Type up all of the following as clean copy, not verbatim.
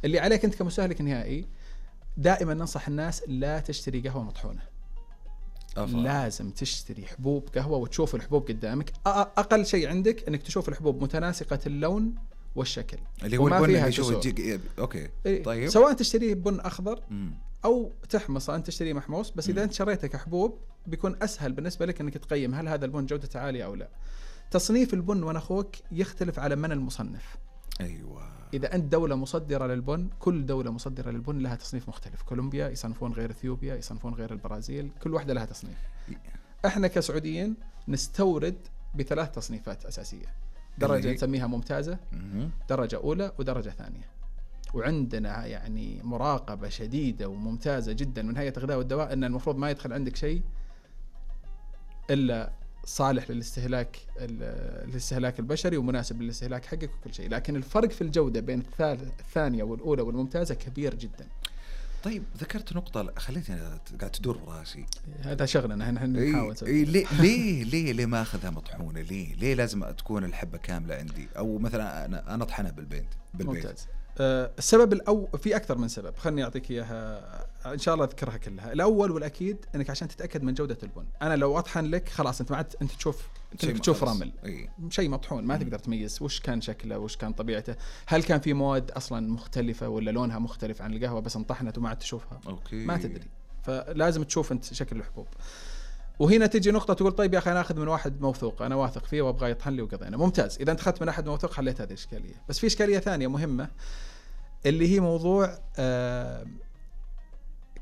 اللي عليك أنت كمستهلك نهائي دائما ننصح الناس لا تشتري قهوة مطحونة. لازم تشتري حبوب قهوة وتشوف الحبوب قدامك. أقل شيء عندك أنك تشوف الحبوب متناسقة اللون والشكل اللي هو البن اللي يشوف أوكي. طيب سواء تشتريه بن أخضر أو تحمص أنت تشتريه محموص، بس إذا أنت شريته كحبوب بيكون أسهل بالنسبة لك أنك تقيم هل هذا البن جودته عالية أو لا. تصنيف البن وأنا أخوك يختلف على من المصنف. أيوة. إذا أنت دولة مصدرة للبن، كل دولة مصدرة للبن لها تصنيف مختلف. كولومبيا يصنفون غير إثيوبيا، يصنفون غير البرازيل، كل واحدة لها تصنيف. إحنا كسعوديين نستورد بثلاث تصنيفات أساسية: درجة نسميها ممتازة، درجة أولى، ودرجة ثانية. وعندنا يعني مراقبة شديدة وممتازة جدا من هيئة الغذاء والدواء أن المفروض ما يدخل عندك شيء إلا صالح للاستهلاك البشري ومناسب للاستهلاك حقك وكل شيء. لكن الفرق في الجودة بين الثانية والأولى والممتازة كبير جدا. طيب ذكرت نقطة خليتني قاعد تدور براسي. هذا شغلنا نحاول ليه ما أخذها مطحونة؟ ليه لازم تكون الحبة كاملة عندي؟ أو مثلا أنا أطحنها بالبيت. ممتاز. السبب في أكثر من سبب، خلني أعطيك إياها إن شاء الله أذكرها كلها. الأول والأكيد أنك عشان تتأكد من جودة البن. أنا لو أطحن لك خلاص أنت أنت تشوف رمل، شيء مطحون، ما تقدر تميز وش كان شكله وش كان طبيعته، هل كان في مواد أصلا مختلفة ولا لونها مختلف عن القهوة بس انطحنت وما عاد تشوفها. ما تدري، فلازم تشوف أنت شكل الحبوب. وهنا تيجي نقطة تقول طيب يا أخي أنا أخذ من واحد موثوق أنا واثق فيه وأبغى يطحن لي وقضينا. ممتاز، إذا أنت أخذت من أحد موثوق حليت هذه الإشكالية. بس في إشكالية ثانية مهمة اللي هي موضوع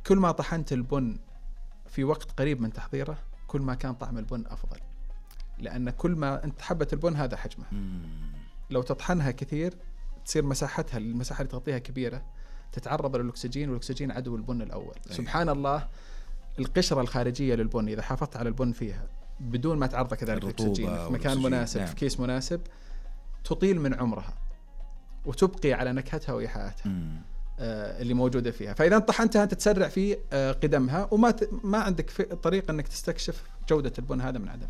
كل ما طحنت البن في وقت قريب من تحضيره كل ما كان طعم البن أفضل، لأن كل ما أنت حبة البن هذا حجمها. لو تطحنها كثير تصير مساحتها المساحة اللي تغطيها كبيرة، تتعرض للأكسجين، والأكسجين عدو البن الأول. سبحان الله، القشرة الخارجية للبن إذا حافظت على البن فيها بدون ما تعرض كذلك الأكسجين في مكان مناسب، نعم. في كيس مناسب، تطيل من عمرها وتبقي على نكهتها وإيحاءاتها اللي موجودة فيها. فإذا طحنتها أنت تسرع في قدمها وما عندك طريقة أنك تستكشف جودة البن هذا من عدم.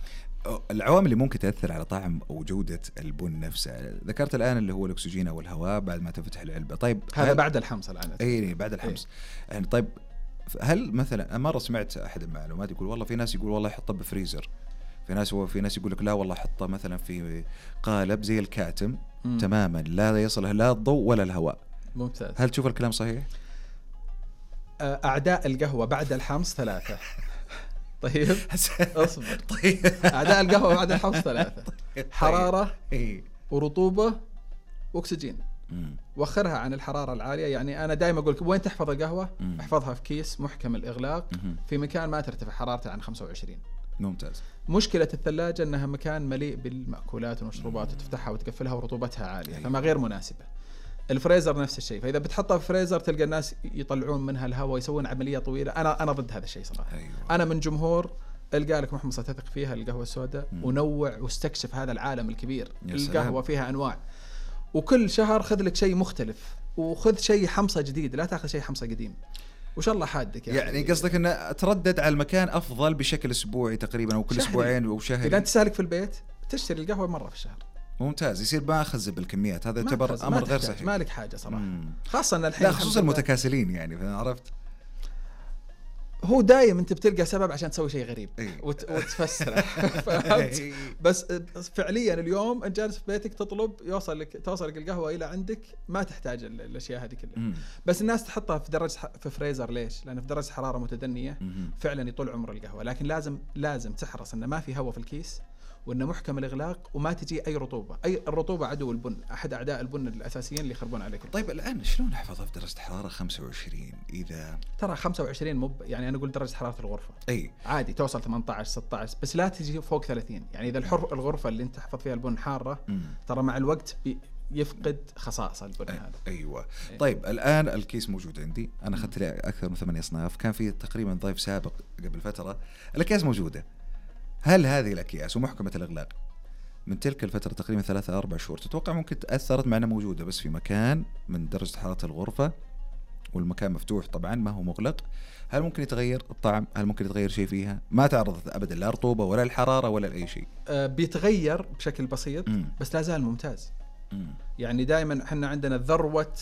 العوامل اللي ممكن تأثر على طعم أو جودة البن نفسه ذكرت الآن اللي هو الأكسجين أو الهواء بعد ما تفتح العلبة. طيب هذا بعد الحمص الآن. أي بعد الحمص. يعني طيب هل مثلا مرة سمعت أحد المعلومات يقول والله في ناس يقول والله يحطه بفريزر، في ناس يقول لك لا والله حطه مثلا في قالب زي الكاتم تماما لا يصله لا الضوء ولا الهواء. ممتاز. هل تشوف الكلام صحيح؟ أعداء القهوة بعد الحمص 3. طيب أصبر. طيب أعداء القهوة بعد الحمص 3: حرارة ورطوبة وأكسجين. وخرها عن الحرارة العالية. يعني أنا دائما أقول وين تحفظ القهوة؟ احفظها في كيس محكم الإغلاق في مكان ما ترتفع حرارته عن 25. ممتاز. مشكلة الثلاجة أنها مكان مليء بالمأكولات والمشروبات وتفتحها وتقفلها ورطوبتها عالية. فما غير مناسبة. الفريزر نفس الشيء، فإذا بتحطها في فريزر تلقى الناس يطلعون منها الهواء يسوون عملية طويلة. أنا ضد هذا الشيء صراحة. أنا من جمهور القى لك محمصة تثق فيها القهوة السوداء ونوع واستكشف هذا العالم الكبير. القهوة فيها أنواع، وكل شهر خذ لك شيء مختلف وخذ شيء حمصة جديد، لا تأخذ شيء حمصة قديم وش الله حادك. يعني قصدك أن تردد على المكان أفضل بشكل أسبوعي تقريبا أو كل أسبوعين أو شهر. إذا أنت سالك في البيت تشتري القهوة مرة في الشهر. ممتاز، يصير ما أخذ بالكميات. هذا يعتبر أمر غير صحيح. مالك حاجة صراحة. خاصة أن الحين لا خصوصا المتكاسلين يعني عرفت. هو دايم أنت بتلقى سبب عشان تسوي شيء غريب وتفسره. بس فعليا اليوم أنت جالس في بيتك تطلب توصلك القهوة إلى عندك، ما تحتاج الأشياء هذه كلها. بس الناس تحطها في فريزر. ليش؟ لأن في درجة حرارة متدنية فعلا يطول عمر القهوة. لكن لازم تحرص أن ما في هواء في الكيس وأنه محكم الإغلاق وما تجي أي رطوبة. الرطوبة عدو البن، أحد أعداء البن الأساسيين اللي يخربون عليك. طيب الآن شلون أحفظها في درجة حرارة 25 إذا ترى 25 يعني أنا أقول درجة حرارة الغرفة عادي توصل 18 16 بس لا تجي فوق 30. يعني إذا الغرفة اللي أنت تحفظ فيها البن حارة ترى مع الوقت يفقد خصائص البن هذا. أيوة. طيب الآن الكيس موجود عندي، أنا أخذت لي أكثر من 8 أصناف. كان في تقريبا ضيف سابق قبل فترة الأكياس موجودة. هل هذه الأكياس ومحكمة الإغلاق من تلك الفترة تقريبا 3-4 شهور تتوقع ممكن تأثرت معنا موجودة بس في مكان من درجة حرارة الغرفة والمكان مفتوح طبعا ما هو مغلق، هل ممكن يتغير الطعم؟ هل ممكن يتغير شيء فيها؟ ما تعرضت أبدا لا رطوبة ولا الحرارة ولا أي شيء. بيتغير بشكل بسيط بس لا زال ممتاز. يعني دائما احنا عندنا ذروة